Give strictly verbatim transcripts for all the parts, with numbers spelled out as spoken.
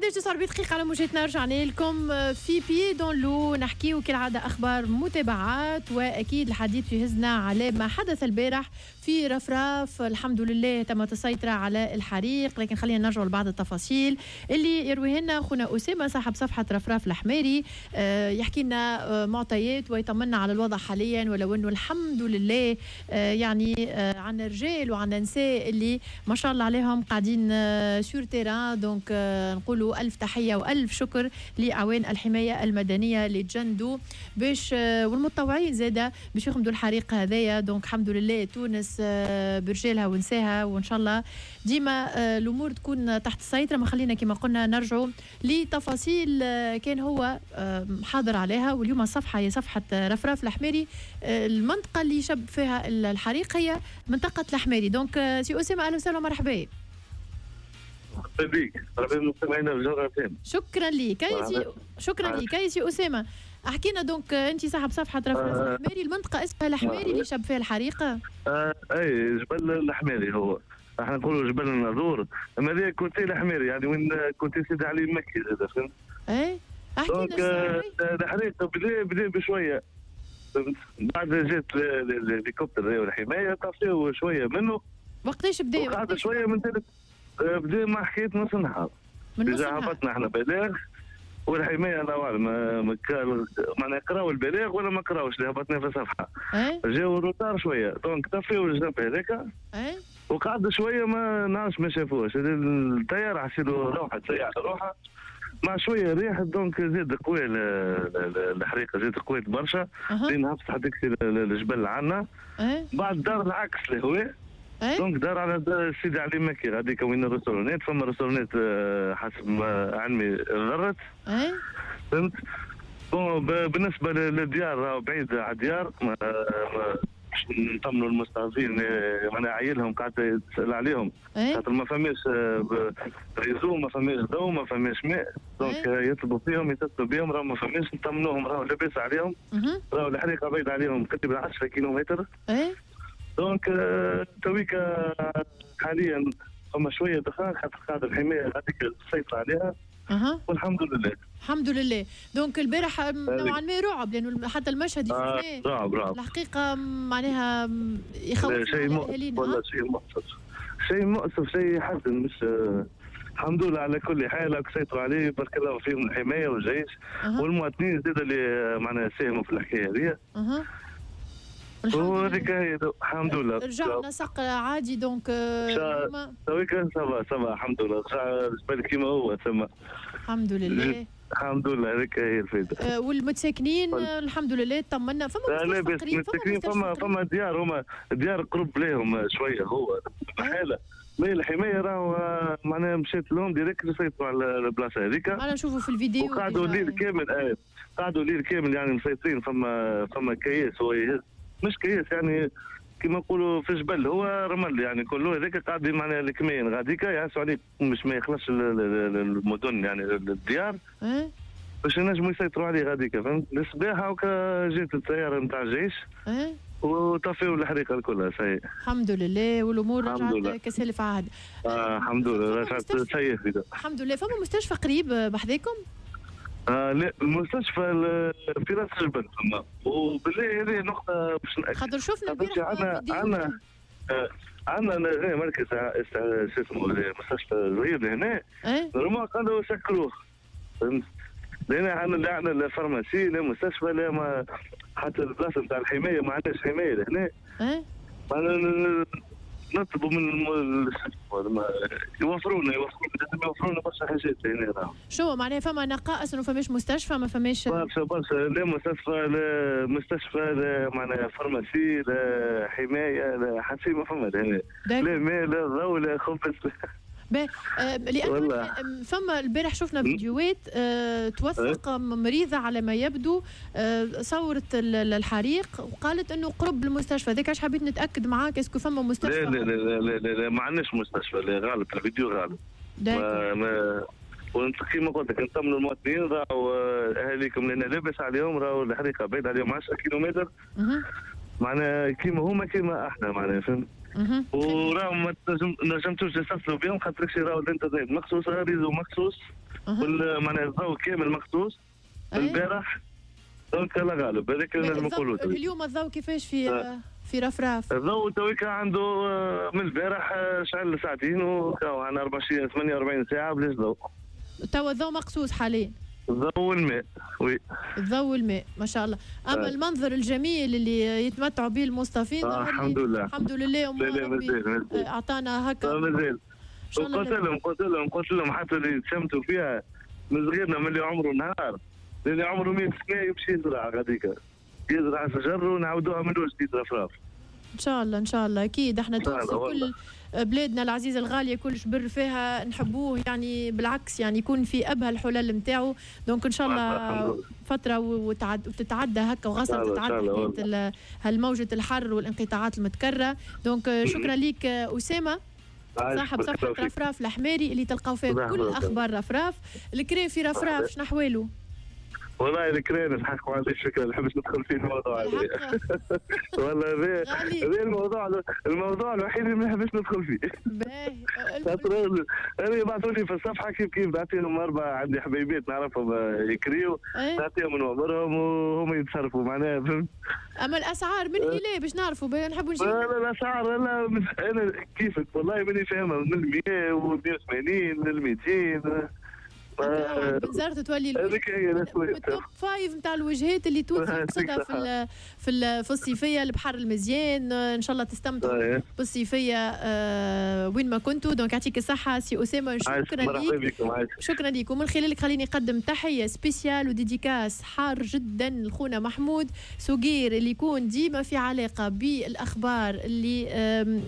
إحداش وتسعة وأربعين دقيقة على موجتنا، رجعنا لكم في Pieds dans l'eau، نحكيو كالعادة أخبار متابعات، وأكيد الحديث يهزنا على ما حدث البارح في رفراف. الحمد لله تمت السيطرة على الحريق، لكن خلينا نرجع لبعض التفاصيل اللي يرويها لنا خونا أسامة صاحب صفحة رفراف الحماري، آه، يحكي لنا آه، معطيات ويطمنا على الوضع حاليا، ولو أنه الحمد لله آه، يعني عندنا رجال وعندنا نساء اللي ما شاء الله عليهم قاعدين sur terrain. donc نقولوا ألف تحية وألف شكر لأعوان الحماية المدنية اللي تجندوا باش والمتطوعين زادة باش يخمدوا الحريق هذايا. donc الحمد لله تونس برجالها ونساها، وإن شاء الله ديما الأمور تكون تحت السيطرة. ما خلينا كما قلنا نرجعوا لتفاصيل كان هو حاضر عليها. واليوم الصفحة هي صفحة رفراف الحماري، المنطقة اللي شب فيها الحريق هي منطقة الحماري. donc سي أسامة أهلا وسهلا ومرحبا. مرحبا بك، مرحبا بالمستمعين الجغرافيين. شكرا لك سي شكرا لك سي أسامة. احكينا donc انت صاحب صفحة رفراف آه الحماري، المنطقة اسمها الحماري اللي شب فيها الحريقه. آه اي جبل الحماري، هو احنا نقولوا جبل الناظور، اما هذا côté الحماري يعني وين côté سيدي علي المكي زاد، فهمت؟ اي احكي لنا. الحريق بدا بدا بشوية، بعد جات الهليكوبتر والحماية طفيو شوية منه. وقتاش بدا؟ قعد شوية من ثالث بدا مع حكاية نص النهار. من نص النهار هبطنا احنا بلاغ والحماية الله اعلم معناها قراو البلاغ ولا ما قراوش اللي هبطنا في الصفحة. ايه جاو retard شوية donc طفيو الجنب هذاك. ايه وقعد شوية ما نعرفش ما شافوش الطيارة، حسيلو روحت سيارة روحها مع شوية ريح، donc زاد قوي الحريقه، زاد قويت برشا لين هبطت حتى الجبل عندنا. ايه بعد دار العكس الهواء. أيه؟ donc دار على سيدي علي مكي غاديك وين ال restaurant ات، فما restaurant ات حسب علمي ضرت. اي فهمت؟ bon بالنسبة للديار راهو بعيد على الديار، باش نطمنوا المستضعفين معناها عايلهم قاعد تسال عليهم، خاطر ما فماش réseau، ما فماش ضوء، ما فماش ماء، donc يطلبوا فيهم يتصلوا بهم راهو ما فماش، نطمنوهم راهو لاباس عليهم، راهو الحريقه بعيد عليهم تقريبا عشرة كيلومتر. اي donc تويكا حاليا فما شوية دخان خاطر قاعدة الحماية هذيك السيطرة عليها. أه. والحمد لله. الحمد لله. donc البارح نوعا ما رعب، لانه حتى المشهد اللي شفناه آه رعب رعب الحقيقة معناها يخوف شيء مؤسف، والله شيء مؤسف، شيء مؤسف، شيء يحزن. مش الحمد لله على كل حال سيطروا عليه، بارك الله فيهم الحماية والجيش أه. والمواطنين زاد اللي معناها ساهموا في الحكاية هذه. أه. وهذيك هي الحمد لله رجع نسق عادي. donc تويك ça va ça va الحمد لله، رجع الجبل كيما هو تما الحمد لله. الحمد لله هذيك هي الفايدة. أه والمتساكنين الحمد لله طمنا. فما مستشفى قريب، فما فما فما ديار، هما ديار قرب ليهم شوية هو حاله mais الحماية راهو معناها مشيت لهم direct سيطروا على البلاصة هذيك. انا نشوفوا في الفيديو وقعدوا الليل كامل، آه قعدوا الليل كامل يعني مسيطرين. فما فما كياس هو يهز، مش كياس يعني كما نقولوا في جبل هو رمل يعني كله هذاك قاعد معناها الكمين غاديكا يعسوا عليه مش ما يخلصش المدن يعني الديار أه؟ باش ينجموا يسيطروا عليه غاديكا، فهمت؟ الصباح هاكا جات الطيارة نتاع الجيش أه؟ وطفيوا الحريقه الكل. سي الحمد لله والامور رجعت كسالف عهد. آه الحمد لله رجعت سيء. الحمد لله. فما مستشفى قريب بحذاكم؟ آه لا المستشفى في راس الجبل فما، وبالله هذه نقطة باش نأكد خاطر شفنا البارح عندنا عندنا عندنا مركز شو اسمه مستشفى صغير هنا normalement قالوا سكروه، فهمت؟ لأن عندنا لا عندنا لا pharmacie لا مستشفى لا ما حتى البلاصة نتاع الحماية ما عندناش حماية لهنا. إيه؟ نطلبوا من يوفرونا يوفرونا يوفرونا برشا حاجات هنا. شو معناها فما نقائص انه فماش مستشفى، ما فماش برشا برشا، لا مستشفى لا مستشفى لا معناها pharmacie لا حماية لا حتى شيء ما فما لهنا، لا ماء لا ضوء لا خبز. باهي لأنه فما البارح شفنا فيديوهات أه توثق مريضة على ما يبدو أه صورت الحريق وقالت انه قرب المستشفى، هذاك علاش حبيت نتاكد معاك est-ce que فما مستشفى؟ لا لا لا لا لا, لا ما عندناش مستشفى، لا غلط الفيديو غلط. ما ما كيما قلت لك نطمنوا المواطنين راهو اهاليكم لان لاباس عليهم، راهو الحريقه بعيد عليهم عشرة كيلومتر. معناها كيما هما كيما احنا معناها فهمت. وراهم ما نجمتوش تتصلوا بهم خاطر راهو الانترنت مقصوص، réseau مقصوص، معناها الضوء كامل مقصوص البارح. donc الله غالب هذاك اللي نجم نقولوا. اليوم الضوء كيفاش في آه. في رفراف؟ الضوء تويكا عنده من البارح شعل ساعتين وكاو عندنا أربعة وعشرين ثمانية وأربعين ساعة بلاش ضوء. توا الضوء مقصوص حاليا. الضوء والماء oui. الضوء والماء ما شاء الله. اما آه. المنظر الجميل اللي يتمتعوا به المصطفين آه الحمد لله الحمد لله. ربي اعطانا هكا. مازال قلت لهم قلت لهم قلت لهم حتى اللي تشمتوا فيها من صغيرنا من اللي عمره نهار اللي عمره مية سنة يمشي يزرع غاديك، يزرع شجر ونعاودوها من جديد رفراف. ان شاء الله ان شاء الله اكيد احنا تونس كل بلادنا العزيزة الغالية كل شبر فيها نحبوه، يعني بالعكس يعني يكون في ابهى الحلل نتاعو. donc ان شاء الله فترة وتعد وتتعدى هكا وغصب تتعدى هالموجه الحر والانقطاعات المتكررة. donc شكرا لك اسامة صاحب صفحة رفراف الحماري اللي تلقاو فيها كل اخبار رفراف. الكري في رفراف شنو احواله؟ والله الكرين الحق ما عنديش فكرة، ما نحبش ندخل في الموضوع هذا. والله هذا هذا الموضوع الموضوع الوحيد اللي ما نحبش ندخل فيه. باهي خاطر انا يبعثوا لي في الصفحة كيف كيف نعطيهم اربعة، عندي حبيبات نعرفهم يكريو، نعطيهم نوامرهم وهم يتصرفوا معناها فهمت. اما الاسعار من الى باش نعرفوا نحبوا نجيب. لا لا الاسعار لا انا كيفك والله ماني فاهمها، من مية و مية وثمانين لل ميتين. بنزرت تولي ال top five نتاع الوجهات اللي تونس تقصدها في في في الصيفية، البحر المزيان. ان شاء الله تستمتعوا بالصيفيه آه وين ما كنتوا. donc يعطيك الصحة سي اسامة، شكرا ليك شكرا ليك. ومن خلالك خليني نقدم تحية spéciale و dédicace حار جدا لخونا محمود سوغير اللي يكون ديما في علاقة بالاخبار اللي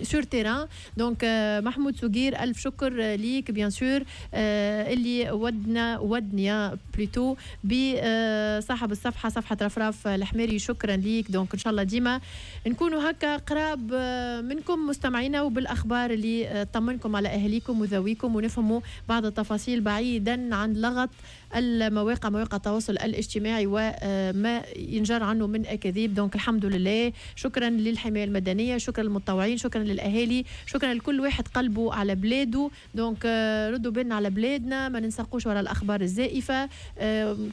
sur terrain. donc محمود سوغير الف شكر ليك bien sûr اللي ودنا ودنيا plutôt بصاحب الصفحة صفحة رفراف الحماري، شكرا ليك. donc ان شاء الله ديما نكونوا هكا قراب منكم مستمعينا وبالاخبار اللي تطمنكم على اهاليكم وذويكم ونفهموا بعض التفاصيل بعيدا عن لغط المواقع مواقع التواصل الاجتماعي وما ينجر عنه من اكاذيب. donc الحمد لله، شكرا للحماية المدنية، شكرا للمتطوعين، شكرا للاهالي، شكرا لكل واحد قلبه على بلاده. donc ردوا بالنا على بلادنا، ما ننسقوش وراء الاخبار الزائفة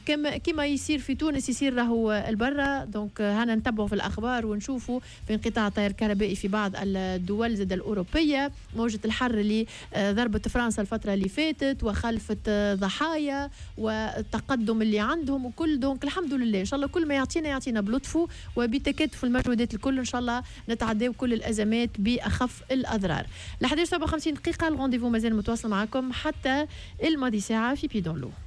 كما كما يصير في تونس يصير راهو البرة. donc هانا نتبعوا في الاخبار ونشوفوا في انقطاع التيار الكهربائي في بعض الدول زاد الاوروبية، موجه الحر اللي ضربت فرنسا الفترة اللي فاتت وخلفت ضحايا والتقدم اللي عندهم وكل. donc الحمد لله ان شاء الله كل ما يعطينا يعطينا بلطفه وبتكاتف المجهودات الكل ان شاء الله نتعداو كل الازمات باخف الاضرار. ل إحداش وسبعة وخمسين دقيقة ال rendez-vous مازال متواصل معكم حتى الماضي ساعة في Pieds dans l'eau.